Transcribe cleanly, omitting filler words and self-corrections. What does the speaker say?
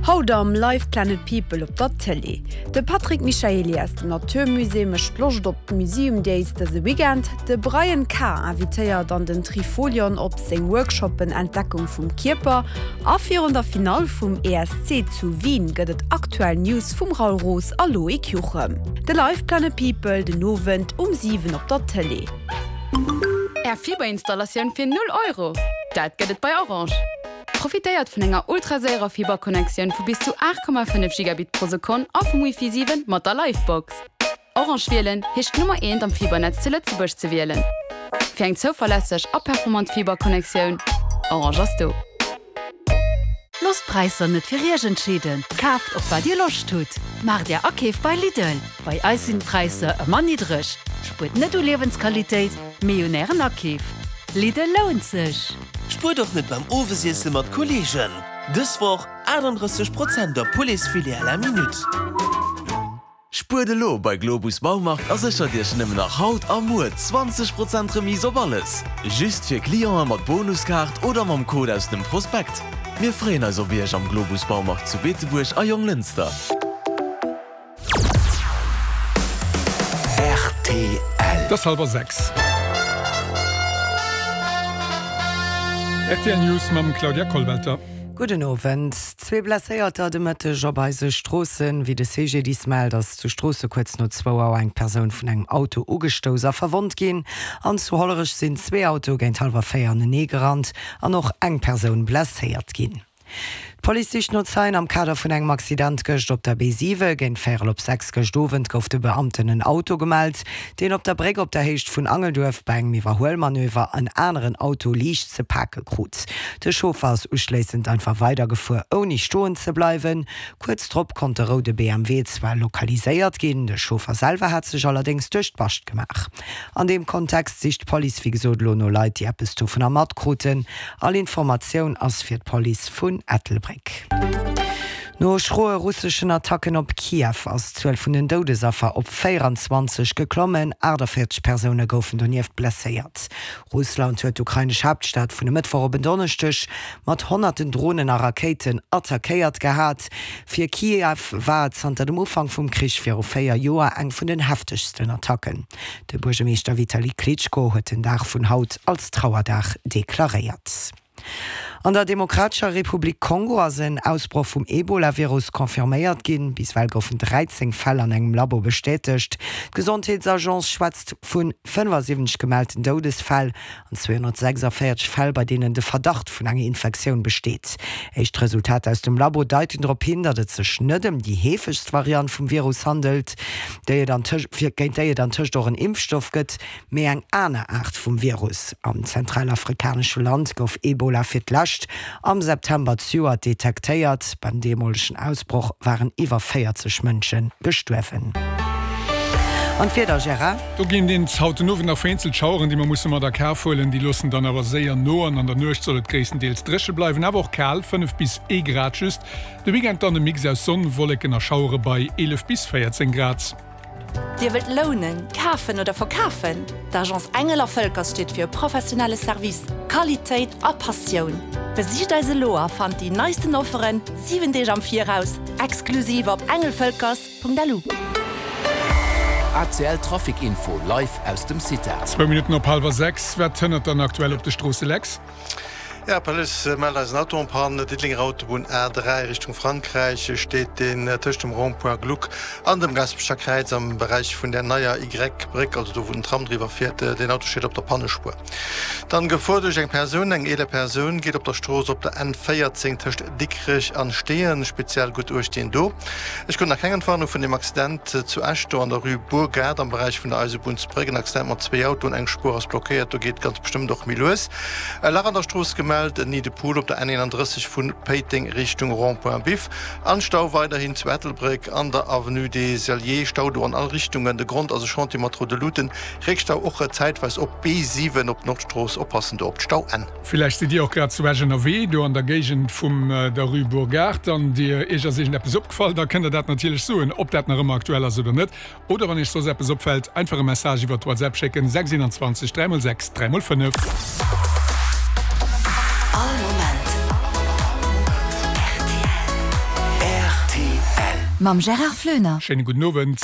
Haut am Live Planet People op der Tëlee. De Patrick Michaely aus dem Natur Musée mécht Loscht op d'Museum Days dëse Weekend. De Brian K. invitéiert an den Trifolion op seng Workshoppen Entdeckung vum Kierper. A virun der Finall vum ESC zu Wien gëtt et aktuell News vum Raoul Roos a Loïc Juchem. De Live Planet People den Owend um 7 op der Tëlee. Är Fiberinstallatioun fir 0 Euro? Dat gëtt et bei Orange! Profitéiert vun enger ultraséierer Fiberconnectioun vu bis zu 8,5 Gigabit pro Sekonn a vum Wifi 7 mat der Livebox. Orange wielen heescht d'Nummer eent am Fibernetz zu Lëtzebuerg ze wielen. Fir eng zouverlässeg a performant Fiberconnectioun, Orange ass do. Loosst d'Präisser net fir Iech entscheeden, kaaft op wat Dir Loscht hutt. Maacht Är Akeef bei Lidl, bei eis sinn d'Präisser ëmmer niddreg. Spuert net u Liewensqualitéit, mee un Ären Akeef. Lidl lount sech! Spuert och net beim Owesiesse mat Kolleegen! Dës Woch 38 Prozent op Pouletsfilet à la minute. Spuert elo bei Globus Baumarkt a séchert Iech nëmmen nach haut a muer 20 Prozent Remise op alles! Just fir Clienten mat Bonuskaart oder mam Code aus dem Prospekt. Mir freeën eis op Iech am Globus Baumarkt zu Beetebuerg a Jonglënster. Rtl. Et ass hallwer 6. Rtl News mam Claudia Kollwelter. Gudden Owend. Zwee Blesséierter de Mëtteg op eise Stroossen. Wéi de CGDIS mellt, ass zu Stroosse kuerz no zwou Auer eng Persoun vun engem Auto ugestouss a verwonnt ginn. An zu Hollerech sinn zwee Autoe géint hallwer 4 anenee gerannt an och eng Persoun blesséiert ginn. D'Police sicht no Zeien am Kader vun engem Accident gëscht op der B7. Géint véierel op 6 gëscht Owend gouf de Beamten en Auto gemellt, deen op der Bréck op der Héicht vun Angelduerf bei engem Iwwerhuelmanöver en aneren Auto liicht ze pake krut. De Chauffer ass uschléissend einfach weidergefuer, ouni stoen ze bleiwen. Kuerz drop konnt de roude BMW zwar lokaliséiert ginn, de Chauffer selwer hat sech allerdéngs duerch d'Bascht gemaach. An deem Kontext sicht d'Police wéi gesot elo no Leit, déi eppes dovunner matkruten. All Informatioun ass fir d'Police vun Ettelbréck. No schroe russeschen Attacken op Kiew ass d'Zuel vun den Doudesaffer op 24 geklommen. 48 Persoune goufen donieft blesséiert. Russland huet d'ukrainesch Haaptstad vun e Mëttwoch op en Donneschdeg mat honnerten Dronen a Rakéiten attackéiert gehat. Fir Kiew war et zanter dem Ufank vum Krich viru 4 Joer eng vun den heftegsten Attacken. De Buergermeeschter Vitali Klitschko huet den Dag vun haut als Trauerdag deklaréiert. An der Demokratescher Republik Kongo ass en Ausbroch vum Ebola-Virus confirméiert ginn. Bis ewell goufen 13 Fäll an engem Labo bestätegt. D'Gesondheetsagence schwätzt vu 75 gemellten Doudesfäll an 246 Fäll, bei deenen de Verdacht vun enger Infektioun besteet. Éischt Resultater aus dem Labo deiten drop hin, datt et sech net ëm déi heefegst Variant vum Virus handelt, déi et géint déi et antëscht och en Impfstoff gëtt, mee eng aner Aart vum Virus. Am zentralafrikanesche Land gouf Ebola fir d'lescht am September zejoert detektéiert. Beim deemolegen Ausbroch waren iwwer 40 Mënsche gestuerwen. An d'Wieder, Gérard? Do ginn et haut den Owend nach vereenzelt Schaueren, déi mer musse mat a Kaf huelen. Déi loossen dann awer séier no an an der Nuecht soll et gréisstendeels dréche bleiwen, awer och kal, 5 bis ee Grad just. De Weekend dann e Mix aus Sonn, Wolleken a Schauere bei 11 bis 14 Grad. Dir wëllt lounen, kafen oder verkafen? D'Agence Engel a Völkers steet fir e professionelle Service, Qualitéit a Passioun. Besicht eis elo a fannt déi neisten Offeren 7 Deeg am Viraus, exklusiv op engelvölkers. .lu. ACL Trafic Info live aus dem CITA. Zwou Minutten op hallwer 6. Wat hënnert dann aktuell op de Stroosse, Lex? Jo, d'Police mellt eis en Auto en panne. Diddelenger Autobunn A3 Richtung Frankräich steet deen tëscht dem Rond-point Gluck an dem Gaasperecher Kräiz am Beräich vun der neier Y-Bréck, also do wou den Tram driwwer fiert. Deen Auto steet op der Pannespuer. Dann Gefor duerch eng Persoun, Eng eeler Persoun geet op der Strooss op der N14 tëscht Dikrech an Steeën. Speziell gutt Uecht deen do. Ech krut nach keng Entwarnung vun dem Accident zu Esch, do an der Rue Bourgade am Beräich vun der Eisebunnsbréck. En Accident mat zwéi Autoen, eng Spuer ass blockéiert, do geet ganz bestëmmt och méi lues. E Lach an der Strooss gemellt, en Nid de poule op der N31 vu Péiteng Richtung Rond-point Biff. An Stau weiderhin zu Ettelbréck an der Avenue des Alliés, Stau do an all Richtungen. De Grond ass e Chantier mat roude Luuten. Réckstau och zäitweis op B7 op Nordstrooss, oppassen do op d'Stauenn. Villäicht sidd Dir och grad zu Esch ënnerwee, do an der Géigend vum der Rue Bourgard, an Dir, Iech ass iergendeppes opgefall, da kënnt Der dat natierlech soen, ob dat nach ëmmer aktuell ass oder net. Oder wann Iech soss eppes opfält, einfach e Message iwwert WhatsApp schécken, 6 21 3 x 6 3 x 5. All Moment rtl. Mam Gérard Floener. Schéine gudden Owend.